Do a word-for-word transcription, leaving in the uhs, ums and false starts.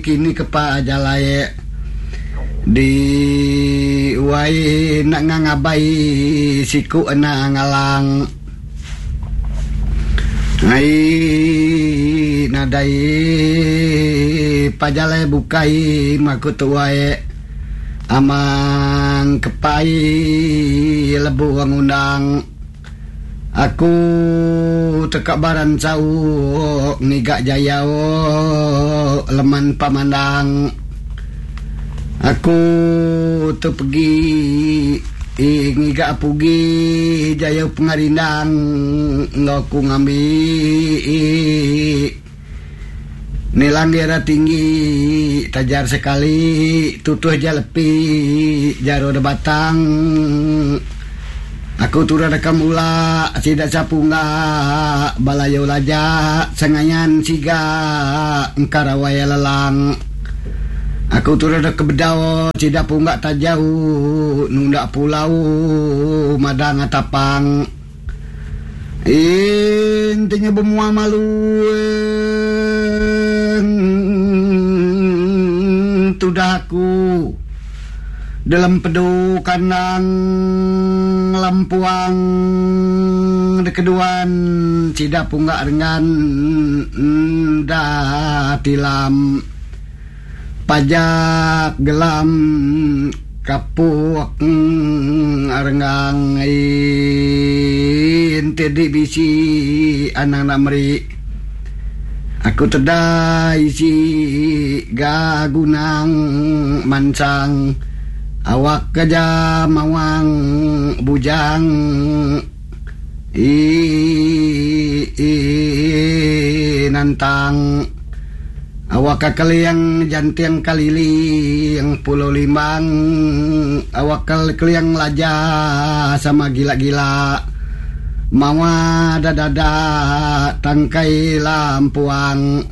Kini ke jalai di wai nak ngabai siku ena ngalang ai nadai pajalai bukai maku tuai amang kepai lebu ngundang aku tekak baran sau ngiga jayau leman pamandang aku tu pergi ngiga pugi jayau pengarindang ngau ku ngambi nilang dira tinggi tajar sekali tutuh jalepi jaro de batang aku turun rekam ula sidak sapunga balayu laja sengayan siga engkarawai lelang aku turun ke bedau sidak punga tak jauh nunda pulau madang atapang intinya bermua malu tudah aku dalam pedu kandang lampuang de keduan sida punggak dengan dah tilam pajak gelam kapuk arenggang inti di bisi anak namri aku tedai si gagunang mansang awak keja mawang bujang i, i nantang awak keliang jantiang kalili yang pulau limang awak keliang laja sama gila-gila mawa dada tangkai lampuang